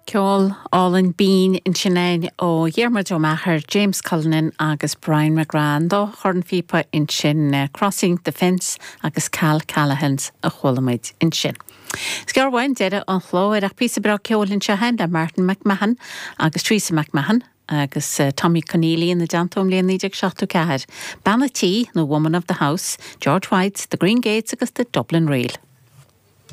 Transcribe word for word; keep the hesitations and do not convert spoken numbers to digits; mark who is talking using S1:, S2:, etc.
S1: Ceol álainn binn ansin ó Dhiarmuid Ó Meachair, James Cullinan agus Brian McGrath dá chornphíopa ansin uh, Crossing the Fence agus Cal Callahan's a chuala muid ansin. Is gearr uainn deireadh an chláir ach píosa breá ceoil anseo le Martin McMahon agus Teresa McMahon agus uh, Tommy Conneely ina dteannta ón mbliain naoi déag seachtó ceathair. Bean an tí nó Woman of the House, George White, the Green Gates agus the Dublin Reel.